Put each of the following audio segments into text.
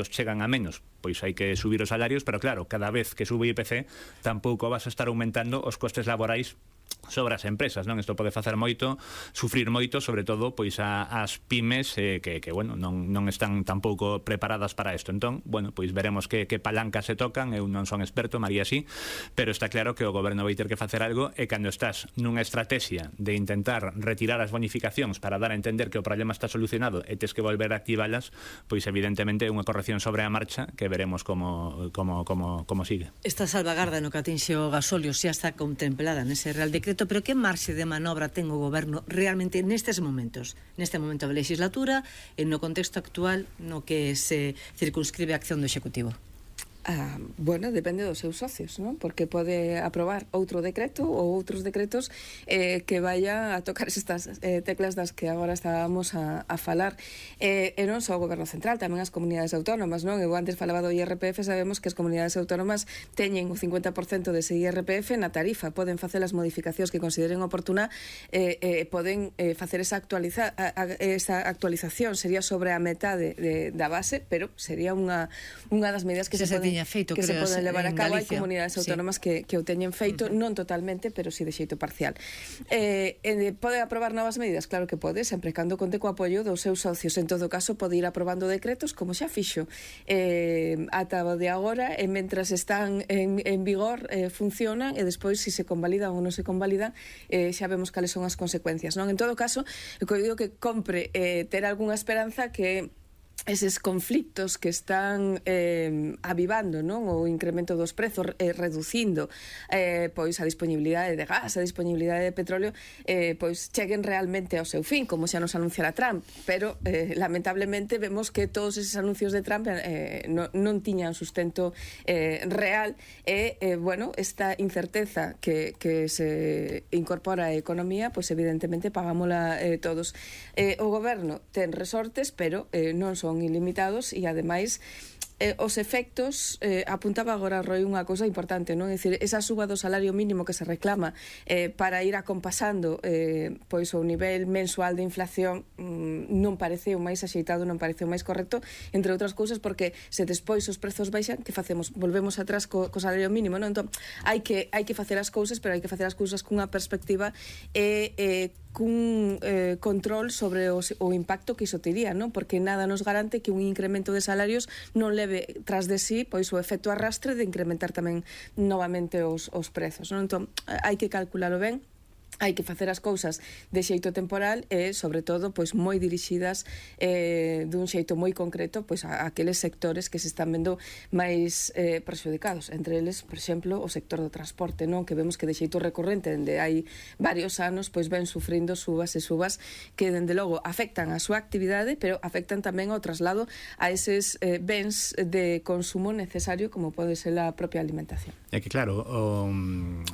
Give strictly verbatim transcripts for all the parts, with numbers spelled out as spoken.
chegan a menos, pois hai que subir os salarios, pero claro, cada vez que sube o I P C tampouco vas a estar aumentando os costes laborais sobre as empresas, non? Isto pode facer moito, sufrir moito, sobre todo pois a, as pymes eh, que, que bueno, non, non están tampouco preparadas para isto. Entón, bueno, pois veremos que, que palancas se tocan. Eu non son experto, María sí, pero está claro que o goberno vai ter que facer algo, e cando estás nunha estrategia de intentar retirar as bonificacións para dar a entender que o problema está solucionado e tes que volver a activalas, pois evidentemente é unha corrección sobre a marcha que veremos como, como, como, como sigue. Esta salvagarda no que atinxe o gasóleo xa está contemplada nese Real Decreto, pero que marxe de manobra ten o goberno realmente nestes momentos, neste momento da legislatura e no contexto actual no que se circunscribe a acción do Executivo? Ah, bueno, depende dos seus socios, non? Porque pode aprobar outro decreto ou outros decretos eh, que vaya a tocar estas eh, teclas das que agora estábamos a, a falar. Eh, e non só o goberno central, tamén as comunidades autónomas, non? Eu antes falaba do I R P F, sabemos que as comunidades autónomas teñen o cincuenta por cento dese I R P F na tarifa, poden facer as modificacións que consideren oportuna, eh, eh, poden eh, facer esa, actualiza, a, a, esa actualización, sería sobre a metade de, da base, pero sería unha, unha das medidas que se, se poden feito, que se poden levar a cabo. Hai comunidades autónomas sí. que, que o teñen feito, uh -huh. non totalmente, pero si sí de xeito parcial. Eh, eh, pode aprobar novas medidas? Claro que pode, sempre cando conte co apoio dos seus socios. En todo caso, pode ir aprobando decretos como xa fixo eh, ata o de agora, e mentras están en, en vigor eh, funcionan, e despois se si se convalidan ou non se convalidan eh, xa vemos cales son as consecuencias, non? En todo caso, eu digo que compre eh, ter algunha esperanza que eses conflictos que están eh, avivando, non? O incremento dos prezos, eh, reducindo eh, pois a disponibilidade de gas, a disponibilidade de petróleo, eh, pois cheguen realmente ao seu fin, como xa nos anunciara Trump, pero eh, lamentablemente vemos que todos eses anuncios de Trump eh, non, non tiñan sustento eh, real, e eh, bueno, esta incerteza que, que se incorpora á economía, pois evidentemente pagámola eh, todos. Eh, o goberno ten resortes, pero eh, non son ilimitados, e ademais eh, os efectos, eh, apuntaba agora Roy unha cousa importante, non? É dicir, esa suba do salario mínimo que se reclama eh, para ir acompasando eh, pois o nivel mensual de inflación mm, non parece o máis axeitado, non parece o máis correcto, entre outras cousas porque se despois os prezos baixan, que facemos? Volvemos atrás co, co salario mínimo, non? Entón, hai que, hai que facer as cousas, pero hai que facer as cousas cunha perspectiva e eh, cun eh, control sobre o, o impacto que iso tería, non? Porque nada nos garante que un incremento de salarios non leve tras de sí pois o efecto arrastre de incrementar tamén novamente os, os prezos, non? Entón, hai que calculalo ben, hai que facer as cousas de xeito temporal e, sobre todo, pois moi dirixidas eh, dun xeito moi concreto pois a, a aqueles sectores que se están vendo máis eh, perxudicados, entre eles, por exemplo, o sector do transporte, non? Que vemos que de xeito recurrente, dende hai varios anos, pois ven sufrindo subas e subas que, dende logo, afectan a súa actividade, pero afectan tamén ao traslado a eses eh, bens de consumo necesario, como pode ser a propia alimentación. É que, claro, o,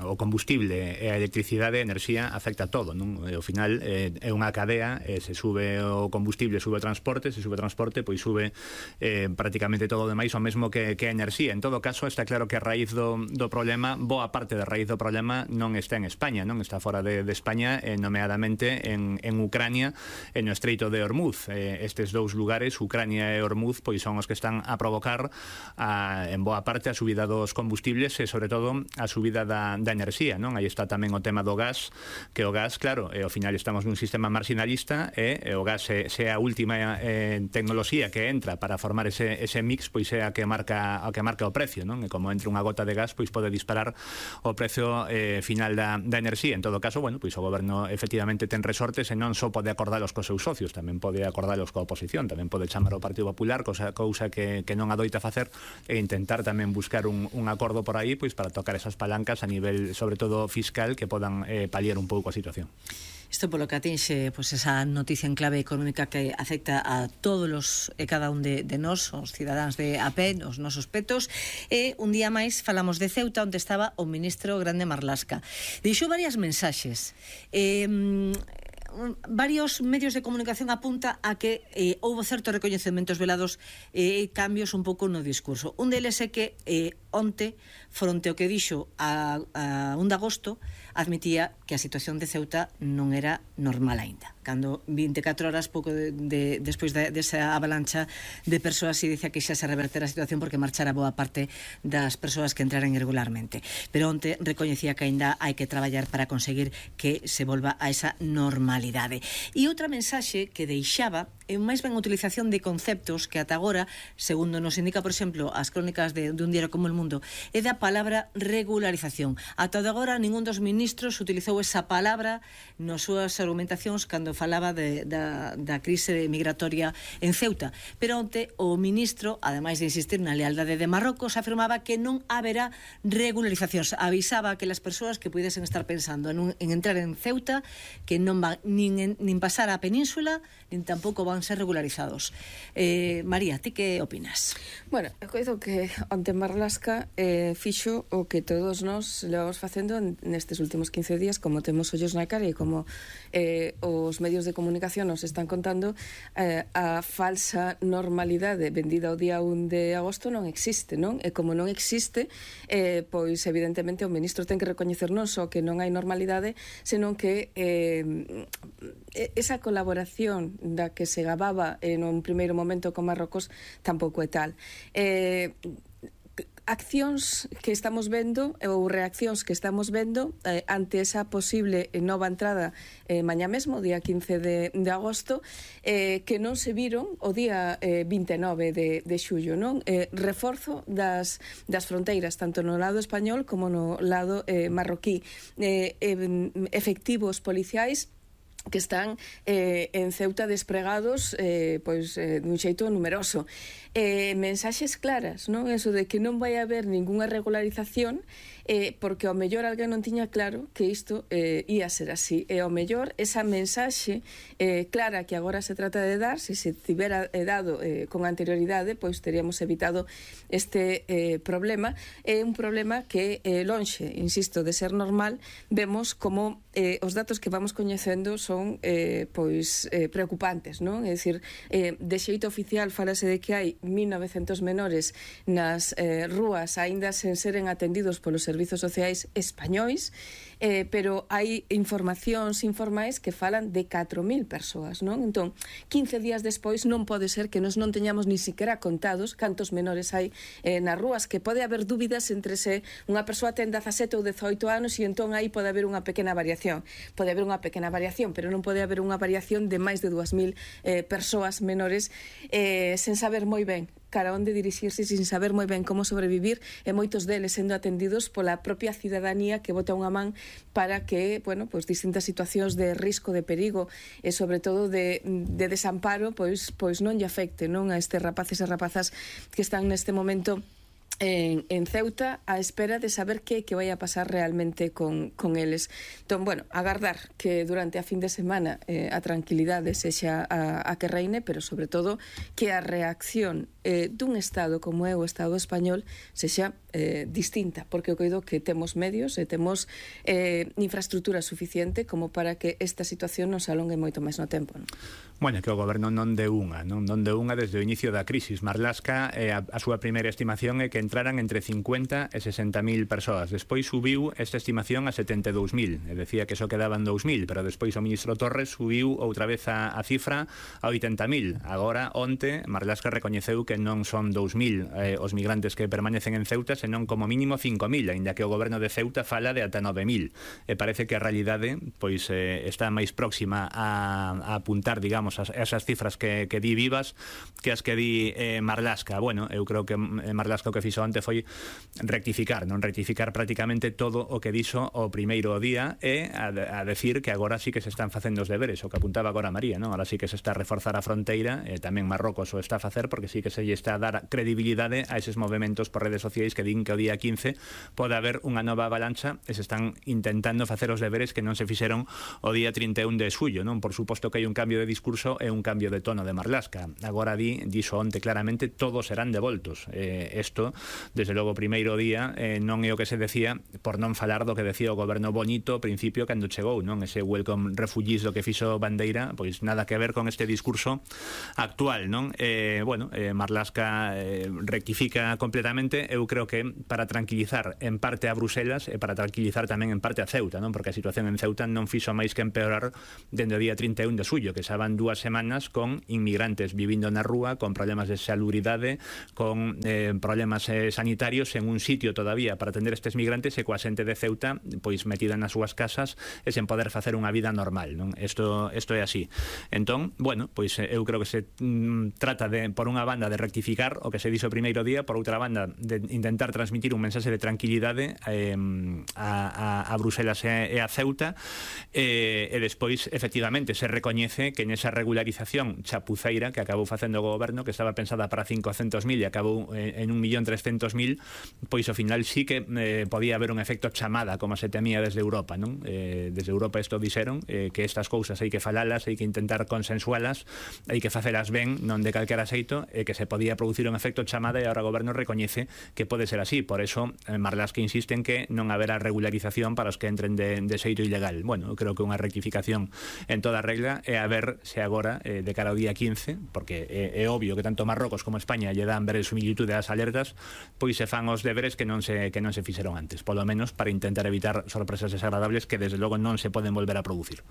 o combustible e a electricidade e a enerxía afecta todo, non? E ao final eh, é unha cadea, eh, se sube o combustible, sube o transporte, se sube o transporte, pois sube eh, prácticamente todo o demais, o mesmo que, que a enerxía. En todo caso, está claro que a raíz do, do problema, boa parte da raíz do problema non está en España, non está fora de, de España, eh, nomeadamente en, en Ucrania, en o Estreito de Hormuz. Eh, estes dous lugares, Ucrania e Hormuz, pois son os que están a provocar a, en boa parte a subida dos combustibles e, sobre todo, a subida da, da enerxía, non? Aí está tamén o tema do gas, que o gas, claro, e ao final estamos nun sistema marginalista e, e o gas se, se a última eh, tecnoloxía que entra para formar ese, ese mix, pois é a que marca a que marca o precio, non? E como entra unha gota de gas, pois pode disparar o precio eh, final da, da enerxía. En todo caso, bueno, pois o goberno efectivamente ten resortes e non só pode acordalos cos seus socios, tamén pode acordalos coa oposición, tamén pode chamar ao Partido Popular, cosa, cousa que, que non adoita facer, e intentar tamén buscar un, un acordo por aí, pois para tocar esas palancas a nivel, sobre todo fiscal, que podan eh, paliar un pouco a situación. Isto polo que atinxe pois, esa noticia en clave económica que afecta a todos os e cada un de, de nós, os cidadáns de a pé, os nosos petos. E un día máis falamos de Ceuta, onde estaba o ministro Grande Marlaska. Deixou varias mensaxes. Eh, varios medios de comunicación apunta a que eh, houve certos recoñecementos velados e eh, cambios un pouco no discurso. Un deles é que eh, onte, fronte ao que dixo a, a un de agosto, admitía que a situación de Ceuta non era normal aínda. Cando vinte e catro horas pouco de, de, despois de, desa avalancha de persoas e dicía que xa se revertera a situación porque marchara boa parte das persoas que entraran irregularmente. Pero onte recoñecía que aínda hai que traballar para conseguir que se volva a esa normalidade. E outra mensaxe que deixaba é máis ben a utilización de conceptos que ata agora, segundo nos indica, por exemplo, as crónicas de, de un diario como El Mundo, é da palabra regularización. Ata de agora ningún dos ministros utilizou esa palabra nas súas argumentacións cando falaba de, da, da crise migratoria en Ceuta. Pero onte o ministro, ademais de insistir na lealdade de Marrocos, afirmaba que non haberá regularizacións. Avisaba que as persoas que pudesen estar pensando en, un, en entrar en Ceuta que non van nin, en, nin pasar a península, nin tampouco van ser regularizados. Eh, María, ti que opinas? Bueno, eu coido que onte Marlaska eh, fixo o que todos nós levamos facendo nestes últimos quince días, como temos ollos na cara e como eh, os medios de comunicación nos están contando, eh, a falsa normalidade vendida ao día un de agosto non existe, non? E como non existe, eh, pois evidentemente o ministro ten que recoñecer non só que non hai normalidade, senón que eh, esa colaboración da que se gababa en un primeiro momento con Marrocos tampouco é tal. Eh, accións que estamos vendo ou reaccións que estamos vendo eh, ante esa posible nova entrada eh, mañá mesmo, día quince de, de agosto, eh, que non se viron o día eh, vinte e nove de, de xullo, non? Eh, reforzo das, das fronteiras, tanto no lado español como no lado eh, marroquí. Eh, eh, efectivos policiais que están eh, en Ceuta despregados eh, pois, eh, dun xeito numeroso. Eh, mensaxes claras, non? Eso de que non vai haber ningunha regularización eh, porque ao mellor alguén non tiña claro que isto eh, ia ser así. E ao mellor esa mensaxe eh, clara que agora se trata de dar, se se tivera eh, dado eh, con anterioridade, pois teríamos evitado este eh, problema. É un problema que eh, lonxe, insisto, de ser normal, vemos como eh, os datos que vamos coñecendo son eh, pois eh, preocupantes, non? É dicir, eh, de xeito oficial falase de que hai mil novecentos menores nas eh, rúas aínda sen seren atendidos polos servizos sociais españois, eh, pero hai informacións informais que falan de catro mil persoas, non? Entón, quince días despois non pode ser que nos non teñamos ni siquiera contados cantos menores hai eh, nas rúas, que pode haber dúbidas entre se unha persoa ten dezasete ou dezoito anos e entón aí pode haber unha pequena variación. Pode haber unha pequena variación, pero non pode haber unha variación de máis de dúas mil eh, persoas menores eh, sen saber moi ben cara onde dirixirse, sin saber moi ben como sobrevivir, e moitos deles sendo atendidos pola propia cidadanía que bota unha man para que, bueno, pois distintas situacións de risco, de perigo e sobre todo de, de desamparo, pois, pois non lle afecte, non, a estes rapaces e rapazas que están neste momento En, en Ceuta a espera de saber que, que vai a pasar realmente con, con eles. Entón, bueno, agardar que durante a fin de semana eh, a tranquilidade sexa a, a que reine, pero sobre todo que a reacción eh, dun Estado como é o Estado español sexa eh, distinta, porque eu coido que temos medios e temos eh, infraestructura suficiente como para que esta situación nos alongue moito máis no tempo, non? Bueno, que o goberno non de unha, non, non de unha desde o inicio da crisis. Marlaska, eh, a, a súa primeira estimación é que entraran entre cincuenta e sesenta mil persoas. Despois subiu esta estimación a setenta e dous mil. E decía que só quedaban dous mil, pero despois o ministro Torres subiu outra vez a, a cifra a oitenta mil. Agora, onte, Marlaska recoñeceu que non son dous mil eh, os migrantes que permanecen en Ceuta, senón como mínimo cinco mil, aínda que o goberno de Ceuta fala de ata nove mil. E parece que a realidade pois eh, está máis próxima a, a apuntar, digamos, a esas cifras que, que di Vivas que as que di eh, Marlaska. Bueno, eu creo que Marlaska o que fixo onte foi rectificar, non rectificar prácticamente todo o que dixo o primeiro día e a, a decir que agora sí que se están facendo os deberes, o que apuntaba agora María, non? Agora sí que se está a reforzar a fronteira, e tamén Marrocos o está a facer, porque sí que se lle está a dar credibilidade a eses movementos por redes sociais que din que o día quince pode haber unha nova avalancha e se están intentando facer os deberes que non se fixeron o día trinta e un de xullo, non? Por suposto que hai un cambio de discurso e un cambio de tono de Marlaska. Agora di, dixo onte claramente, todos serán devoltos. Eh, esto desde logo o primeiro día eh, non é o que se decía, por non falar do que decía o goberno bonito ao principio cando chegou, non? Ese welcome refugees do que fixo Bandeira, pois nada que ver con este discurso actual, non? Eh, bueno, eh, Marlaska eh, rectifica completamente. Eu creo que para tranquilizar en parte a Bruselas e para tranquilizar tamén en parte a Ceuta, non? Porque a situación en Ceuta non fixo máis que empeorar dende o día trinta e un de xullo, que xa van dúas semanas con inmigrantes vivindo na rúa, con problemas de salubridade, con eh, problemas eh, sanitarios en un sitio todavía para atender estes migrantes e coa xente de Ceuta pois metida nas súas casas e sen poder facer unha vida normal, non? Isto, isto é así. Entón, bueno, pois eu creo que se mm, trata de, por unha banda, de rectificar o que se dixo o primeiro día, por outra banda, de intentar transmitir un mensaxe de tranquilidade eh, a, a, a Bruselas e, e a Ceuta, e, e despois, efectivamente, se recoñece que nesa regularización chapuceira que acabou facendo o goberno, que estaba pensada para cincocentos mil e acabou en un millón trescentos mil, pois ao final sí que eh, podía haber un efecto chamada, como se temía desde Europa, non? Eh, desde Europa isto dixeron, eh, que estas cousas hai que falalas, hai que intentar consensualas, hai que facelas ben, non de calquera xeito, e que se podía producir un efecto chamada, e agora o goberno recoñece que pode ser así. Por eso eh, Marlaska insiste en que non haberá regularización para os que entren de, de xeito ilegal. Bueno, eu creo que unha rectificación en toda regla, e a ver se agora, eh, de cara ao día quince, porque é, é obvio que tanto Marrocos como España lle dan verosimilitude ás alertas, pois se fan os deberes que non se que non se fixeron antes, polo menos para intentar evitar sorpresas desagradables que desde logo non se poden volver a producir.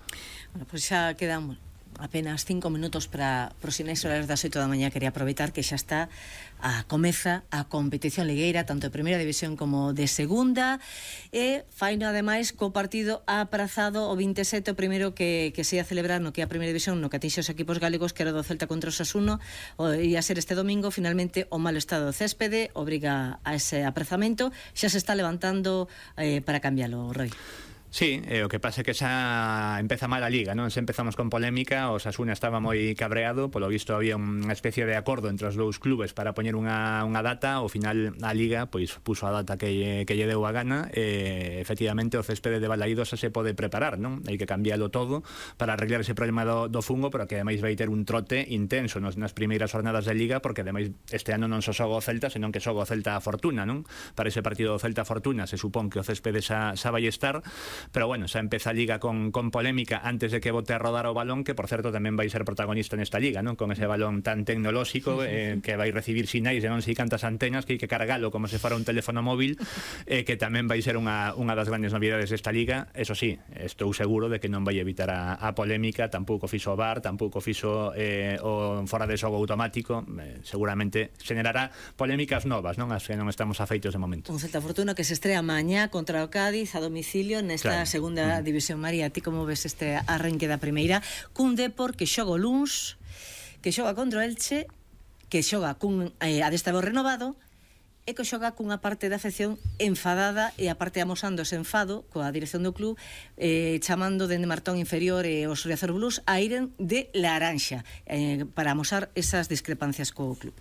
Bueno, pois xa quedan apenas cinco minutos para os sinais horarios das oito da mañá. Quería aproveitar que xa está a comeza a competición ligueira, tanto de primeira división como de segunda, e faino ademais co partido aprazado o vinte e sete, o primeiro que, que se ia celebrar no que é a primeira división, no que atinxe os equipos galegos, que era do Celta contra o Osasuna, o ia ser este domingo. Finalmente o malo estado do céspede obriga a ese aprazamento. Xa se está levantando eh, para cambialo, Roy. Sí, eh, o que pasa é que xa empeza mal a Liga, non? Se empezamos con polémica, o Osasuna estaba moi cabreado, polo visto había unha especie de acordo entre os dous clubes para poñer unha, unha data. Ao final a Liga pois puso a data que, que lle deu a gana, e efectivamente o céspede de Balaídos se pode preparar, non? Hai que cambialo todo para arreglar ese problema do, do fungo, pero que ademais vai ter un trote intenso nos, nas primeiras jornadas de Liga, porque ademais este ano non só xoga o Celta, senón que xoga o Celta a Fortuna, non? Para ese partido do Celta a Fortuna se supón que o céspede xa, xa vai estar. Pero bueno, xa empeza a Liga con, con polémica antes de que bote a rodar o balón, que por certo tamén vai ser protagonista nesta Liga, non? Con ese balón tan tecnolóxico, eh, que vai recibir sinais de non sei cantas antenas, que hai que cargalo como se fora un teléfono móvil, eh, que tamén vai ser unha, unha das grandes novidades desta Liga. Eso sí, estou seguro de que non vai evitar a, a polémica, tampouco fixo o V A R, tampouco fixo eh, o fora de xogo automático. Eh, seguramente generará polémicas novas, non? As que non estamos afeitos de momento. Un Celta Fortuna que se estrea mañá contra o Cádiz a domicilio nesta claro. segunda mm. división. María, ti como ves este arranque da primeira, cun Depor que xoga o luns, que xoga contra o Elche, que xoga cun eh, adestrador renovado, e que xoga cunha parte da afección enfadada, e a parte amosando ese enfado coa dirección do club, eh, chamando dende Martón Inferior e os Riazor Blues a iren de laranxa, eh, para amosar esas discrepancias co club.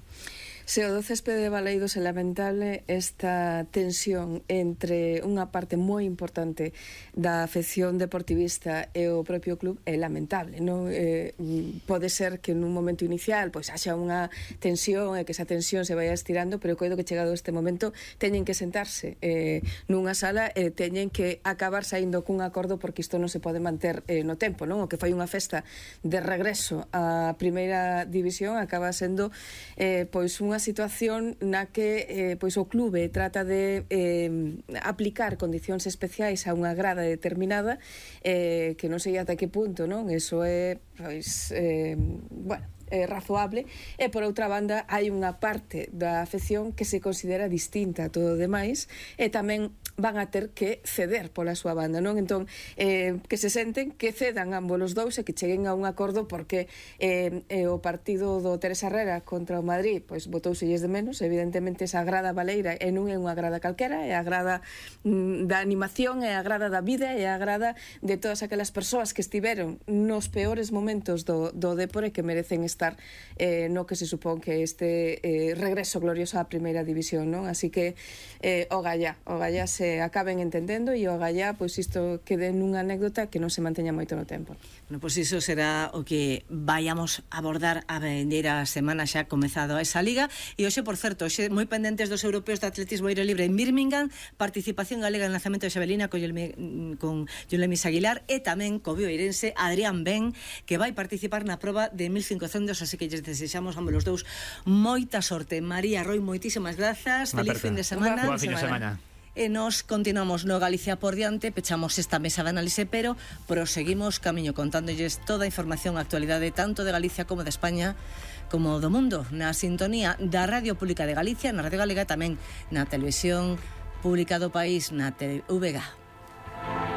Se o do céspede de Balaídos é lamentable esta tensión entre unha parte moi importante da afección deportivista e o propio club é lamentable, non? Eh, pode ser que nun momento inicial pois haxa unha tensión e que esa tensión se vaya estirando, pero coido que chegado este momento teñen que sentarse eh, nunha sala e teñen que acabar saindo cun acordo, porque isto non se pode manter eh, no tempo, non? O que foi unha festa de regreso á primeira división acaba sendo eh, pois unha unha situación na que eh, pois o clube trata de eh, aplicar condicións especiais a unha grada determinada, eh, que non sei ata que punto, non? Eso é, pois, eh, bueno, é razoable, e por outra banda hai unha parte da afección que se considera distinta a todo o demais, e tamén van a ter que ceder pola súa banda, non? Entón, eh, que se senten que cedan ambos os dous e que cheguen a un acordo, porque eh, eh, o partido do Teresa Herrera contra o Madrid pois botouselles de menos. Evidentemente esa grada baleira e non é unha grada calquera, é a grada mm, da animación, é a grada da vida, é a grada de todas aquelas persoas que estiveron nos peores momentos do, do Depor e que merecen estar eh, no que se supón que este eh, regreso glorioso á primeira división, non? Así que eh, o gallá, o gallá se se acaben entendendo e o agallá, pois isto quede nunha anécdota que non se manteña moito no tempo. Bueno, pois iso será o que vayamos a abordar a vendeira semana xa comezado esa liga. E hoxe, por certo, hoxe moi pendentes dos europeos de atletismo aire libre en Birmingham, participación galega en lanzamento de xavelina con Yulemis Aguilar e tamén co bioeirense Adrián Ben, que vai participar na proba de mil cincocentos, así que lles desexamos ambos os dous moita sorte. María Roy, moitísimas grazas, feliz fin de semana. Boa fin de semana. E nos continuamos no Galicia por diante, pechamos esta mesa de análise, pero proseguimos camiño contándolles toda a información, a actualidade tanto de Galicia como de España como do mundo, na sintonía da Radio Pública de Galicia, na Radio Galega, tamén na Televisión Pública do País, na T V G A.